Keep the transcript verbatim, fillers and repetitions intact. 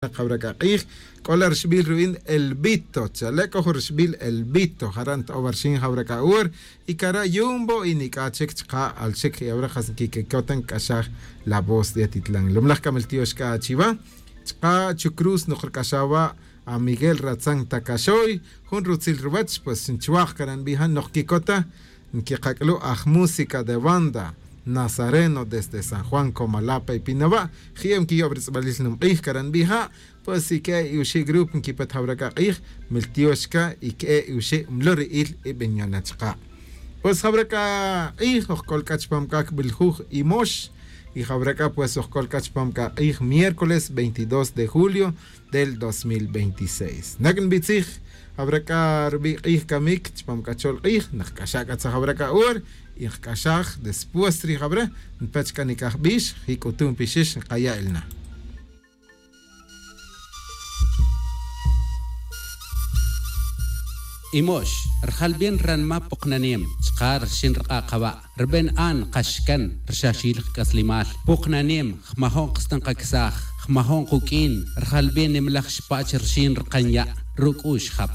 Jawra k'a k'ij k'ola rixbil ru'in elvito chale' k'o jun rixbil elvito jara' nto'ow arixin jawra k'a hor. Y kara' yumbo y nic'a chic chaka' alchic y awra' jas nquiquicota nc'axaj la voz de atitlan lumlaj c'a miltiox c'a chiva. Chaka' chucruz nok rc'axaj wa' amiguel ratzan tacaxoy. Jun rutzil ruwech pues nchuaj cara' nbija' nok quicota. Nquikac'lu' aj música de banda nazareno desde san juan comala' pe pinawa'. Ji'ew nquiyo'ob ritz'balil numk'ij cara' nbija'. Pues y que'e' y uxi' grupo nquipet jawra c'a k'ij miltiox c'a y que'e' y uxi' mluri'il ibenyona chaka'. Pues jawra c'a k'ij ojc'ol c'a chupam c'a cbiljuj imox. Y jawra c'a pues ojc'ol c'a chupam c'a k'ij miércoles veintidós de julio del dos mil veintiséis nac nbitzij. Jawra c'a rubi' k'ij camic chupam c'a chol k'ij nkc'axa' c'a tzaj jawra c'a hor. Y nkc'axaj después rij jawra npech c'a nic'aj bix jic'utun pixix nkaya' el na. Imox rjalbin ranma poknanem chka rxin rk'a' kaba' rben an kaxkan rxaxil kc'aslimal. Poknanem jmajon ksten kaksaj jmajon kuk'in rjalbin nimlaj xpach rxin rkan ya' ruk'ux jap.